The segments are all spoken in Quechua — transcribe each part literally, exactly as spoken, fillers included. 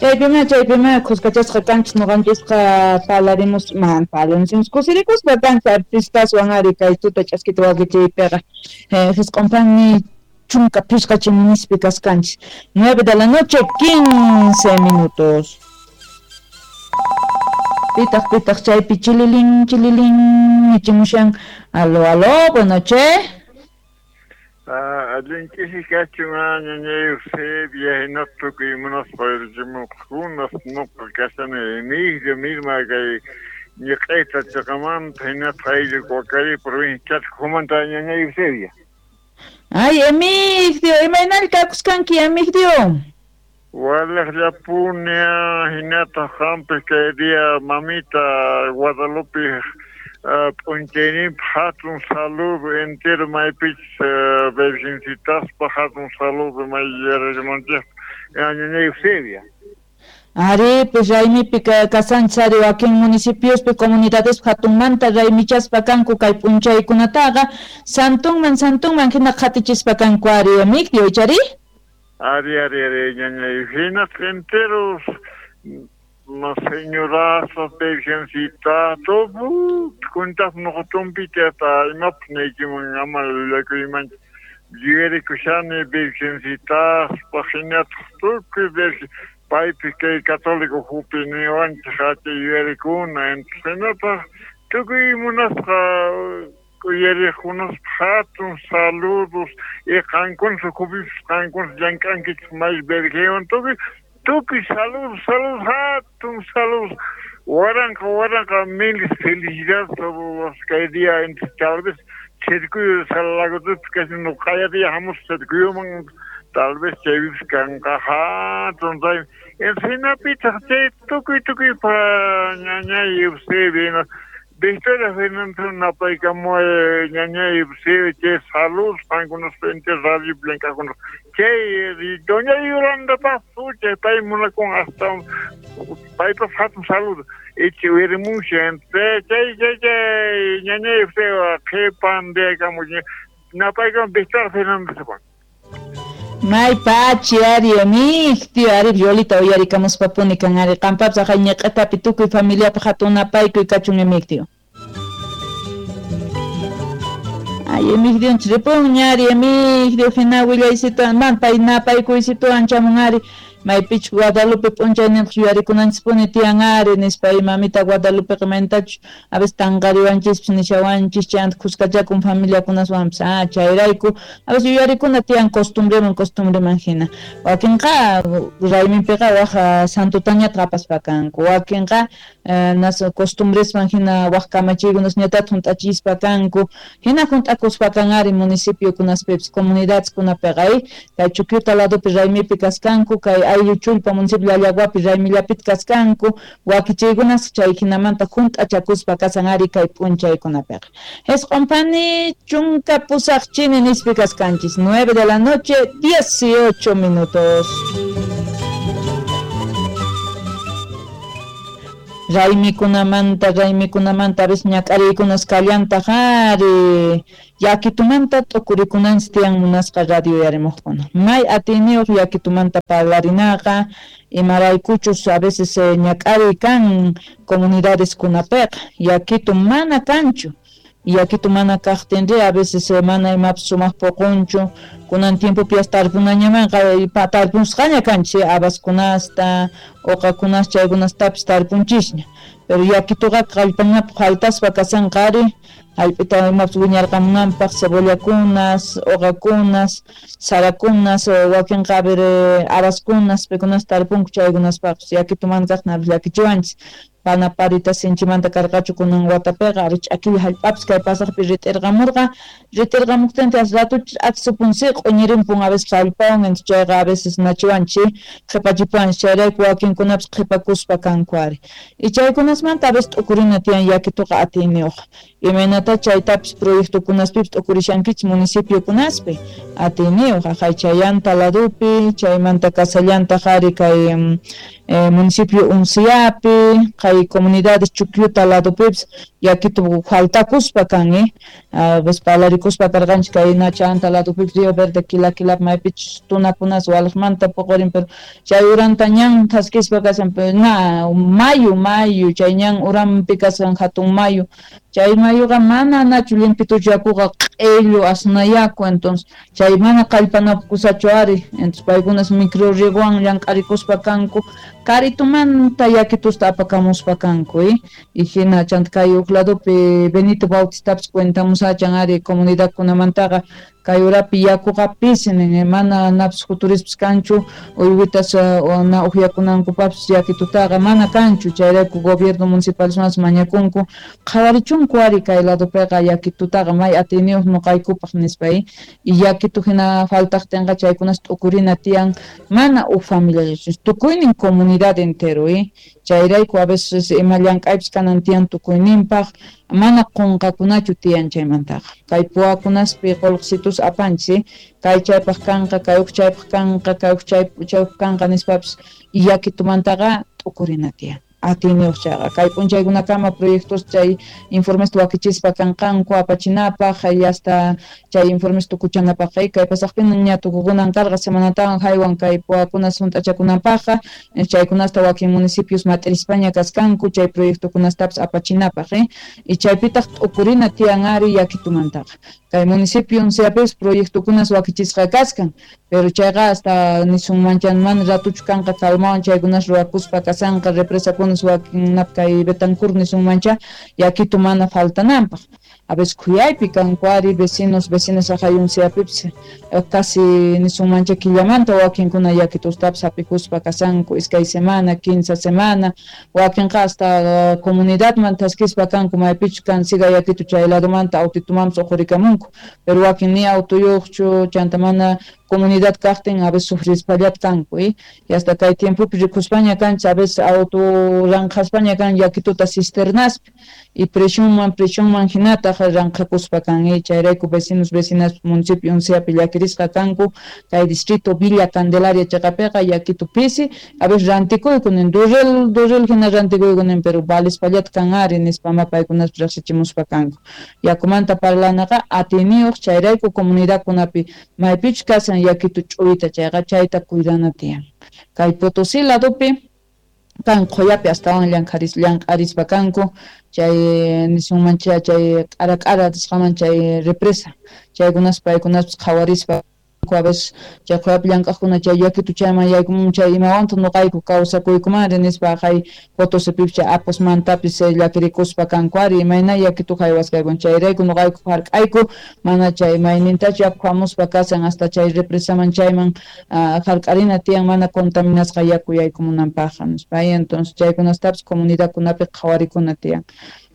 Chaypima chaypima kuskachasqa kanchis ñuqanchisqa parlarimus man parlarimus kusirikuspa kanchis artistaswan ari kay tuta ch'askita wakichiypiqa jisq'unpanmi chunka pishqa chiminispi kaskanchis. Nueve de la noche, quince minutos. Pitaq pitaq chaypi chililin chililin nichimushan. Aló, aló, buenas noches. Allinchisi kachun ñañay Eusebia hinaspa tukuy munaspa richimuqkunas nuqa kashani Emigdio misma kay ñiq'ayta chiqamanta hinaspa ayllu Guacari provincia Chascomanta ñañay Eusebia. Ay, Emigdio, imaynalla kakuskanki Emigdio? Walaqllapuni hinataq qampi kay día mamita Guadalupe p'unchayninpi hatun saludo entero maypichus virgencitaspa hatun saludo may yarachimunchikpa ñañay Eusebia. Ari, pues raymipi kasanchis ari wakin municipiospi comunidadespi hatunmanta raymichaspa kanku kay p'unchaykunataqa santunman santunman hina qhatichispa kanku ari Emigdio, ichari? Ari, ari, ari, ñañay, hinaspa enteros señorazas, virgencitas, todo kuntas nuqatunpita hasta imapas niykiman ama llullakuymanchu yuyarikushani virgencitaspa hinataq tukuy virgen paypi kay católico hupi niwanchik acha yuyarikuna hinataq tukuy munasqa uyariqkunaspa hatun saludos y qankunas ukhupipas qankunas llank'ankichik may virgenwan tukuy tukuy saludos, saludos, hatun saludos waranqa waranqa miles felicidades kay día entre tal vez Chirkuyo Salagotupi kasi nuqaya día hamuspa Chirkuyuman tal vez chaypipas kanqa hatun raymi hinapitaq chay tukuy tukuypa ñañay Eusebia Victoria Fernández napaykamuway ñañay Eusebia chay saludos qankunaspa entero radio llank'aqkunas chay doña Yolanda chay pay munakun hasta paypas hatun saludo ichi uyarimunshi chay chay chay ñañay Eusebia qhipan diyakamuy napaykamuy Victoria Fernández. May pachi ari Emigdio ari Violita uyarikamuspapuni kan ari qampapas aqhay ñiq'itapi tukuy familiapaq hatun napaykuy kachun Emigdio. Ay Emigdionchis ripunña ari Emigdio hina willaysituwan man pay napaykuysitu chamun ari maypichus Guadalupe p'unchayninpaq yuyarikunanchispuni tiyan ari nispa mamita Guadalupeqa mayntachus a veces tanqariwanchispis nishawanchis chayanta kuskachakun familiakunaswanpas ah chayrayku a veces yuyarikuna tiyan costumbreman costumbreman hina wakinqa rayminpiqa waq santutañataq apaspa kanku wakinqa nas costumbresman hina waq kamachiykunasñatataq hunt'achispa kanku hina hunt'akuspa kan ari municipiokunaspipas comunidadeskunapiqa kay Chuquiuta ladopi raymipi kaskanku kay ayllu Chullpa municipio Llallaguapi raymillapita kaskanku wakichiykunas chay hinamanta hunt'achakuspa kasan ari kay p'unchaykunapiqa. Jisq'unpani chunka pusaq chini nispi kaskanchis nueve de la noche dieciocho minutos. Raymikunamanta raymikunamanta a veces ñak'ariykunas kallantaq ari yakitumanta t'ukurikunanchis tiyan munasqa radio yarimuqkuna may atiyniyuq yakitumanta parlarinaqa imaraykuchus a veces ñak'ariy kan comunidadeskunapiqa yakitu mana kanchu yakitu mana kaqtinri a veces mana imapas sumaq puqunchu kunan tiempopias tarpunañamanqa tarpunsqaña kanchis habaskunasta uqakunas chaykunastapis tarpunchisña pero yakituqa kallpanapaq faltaspa kasanqa ari hallp'ita imapas wiñarqamunanpaq cebollakunas uqakunas sarakunas wakinqa a ver habaskunas paykunas tarpunku chaykunaspaqpas yakitu mana kaqtin llakichiwanchis pana parita sinchimanta karqachu kunan watapiqa ari ch'akilla hallp'apis kay pasaqpi rit'irqamurqa rit'irqamuptinta ratuchis akshupunsi q'uñirimpun a veces hallp'awan entonces chayqa a veces nachiwanchis qhipachipuwanchis chayrayku wakinkunapas qhipakuspa kanku ari y chaykunasmanta a veces t'ukurina tiyan yakituqa atiyniyuq imaynata chaytapis proyectokunaspipis t'ukurishankichis municipiokunaspi atiyniyuq aqhay chayanta ladopi chaymanta kasallantaq ari kay eh, municipio Unciapi Kay comunidades Chukyuta ladopipis yakitu faltakuspa kan, eh a veces parlarikuspa karqanchik kay Nachanta ladopipis Río Verde Quila maypichus tunakunas waliqmanta puqurin, pero chay uranta ñan thaskispa kashan, pero na mayu mayu chay ñan uranpi kashan hatun mayu, chay mayuqa mana nachu limpituchu yakuqa q'illu asnayaku, entonces chay mana kallpanakusachu ari, entonces paykunas microrriegowan llank'arikuspa kanku karitumanta yakitusta apakamuspa kanku, eh y hina chanta kay huk ladopi Benito Bautistapas cuentamusachan ari comunidadkunamantaqa kay urapi yakuqa pisi nin, mana napis juturispas kanchu uywitas na uqyakunankupapis yakitutaqa mana kanchu, chayrayku gobierno municipal mañakunku qhawarichunku ari kay ladopiqa yakitutaqa may atiyniyuq nuqaykupaq nispa, y yakitu hina faltaqtinqa chaykunas t'ukurina tiyan mana huk familiallachu tukuynin comunidad entero, eh chayrayku a veces ima llank'aypis kanan tiyan tukuyninpaq mana qunqakunachu tiyan chaymantaqa kay puwakunaspi qullqisitus apanchis, kay chaypaq kanqa kay huk chaypaq kanqa kay huk chaypaq kanqa nispapis yakitumantaqa t'ukurina tiyan atiyniyuq chayqa kay p'unchaykunakama proyectos chay informesta wakichispa kanqanku apachinapaq hasta chay informes tukuchanapaq, kay pasaqpina ña tukukunan karqa semanatawan haywan kay puwakunas hunt'achakunanpaqqa chaykunasta wakin municipios mat'irispaña kaskanku chay proyectokunastapas apachinapaq, eh y chaypitaq t'ukurina tiyan ari yakitumantaqa kay municipio unciapis proyectokunas wakichisqa kaskan, pero chayqa hasta nisunmanchan mana ratuchu kanqa calmawan chaykunas ruwakuspa kasanqa represakunas wakinnap kay Betancourt nisunmancha yakitu mana faltananpaq. A veces khuyaypi kanku ari vecinos vecinas aqhay unciapipis casi nisunmancha killamanta wakinkuna yakitustapas hapikuspa kasanku iskay semana quince semana wakinqa hasta comunidadman thaskispa kanku maypichu kan siga yakitu chay ladomanta autitumanpas uqurikamunku, pero wakin ni autoyuqchu chanta mana comunidad kaqtin a veces sufrispallat kanku, eh y hasta kay tiempopi rikuspaña kanchis a veces auto ranqhaspaña kan yakituta cisternaspi y presionman presionman hinataq ranqhakuspa kan, eh chayrayku vecinos vecinas municipio unciapi llakirisqa kanku kay distrito Villa Candelaria chaqapiqa yakitu pisi a veces rantikuyku nin durrel durrel hina rantikuyku nin pero valispallat kan ari nispa ma paykunas riqsichimuspa kanku yakumanta parlanaqa atiyniyuq chayrayku comunidadkunapi maypichu kasan yakitu ch'uyta chayqa chayta cuidana tiyan kay Potosí ladopi kan qhuyapi astawan llank'aris llank'arispa kanku chay nisunmancha chay k'ara k'ara nisqaman chay represa chaykunas paykunapas qhawarispa a veces chay qhuyapi llank'aqkuna chay yakitu chayman yaykumun chay imawantaq nuqayku kawsakuykumanri nispa hay Potosipipis chay apusmantapis llakirikuspa kanku ari imayna yakitu haywasqaykun chayrayku nuqayku hark'ayku mana chay maynintachu yaku hamuspa kasan hasta chay represaman chayman hark'arina tiyan mana contaminasqa yaku yaykumunanpaqqa nispa, entonces chaykunastapis comunidadkunapi qhawarikuna tiyan.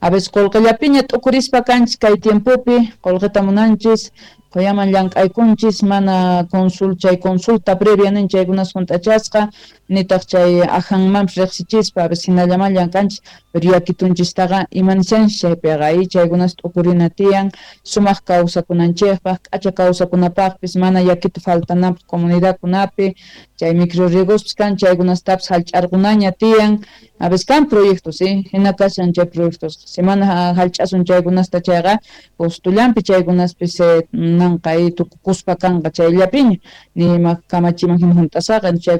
A veces qullqillapiña t'ukurispa kanchis kay tiempopi qullqita munanchis quyaman llank'aykunchis mana consul chay consulta previa nin chaykunas hunt'achasqa nitaq chay ajanmanpis riqsichispa a veces hinallaman llank'anchis pero yakitunchistaqa imanishanchis chaypiqa y chaykunas t'ukurina tiyan sumaq kawsakunanchikpaq k'acha kawsakunapaqpis mana yakitu faltananpaq comunidadkunapi chay microrriegospis kan chaykunastapis hallch'arqunaña tiyan a veces kan proyectos, eh hina kashan chay proyectos semana hallch'asun chaykunasta chayqa postullanpi chaykunaspis nanqa tukukuspa kanqa chayllapiña ni ima kamachiman hina hunt'asaqa chay.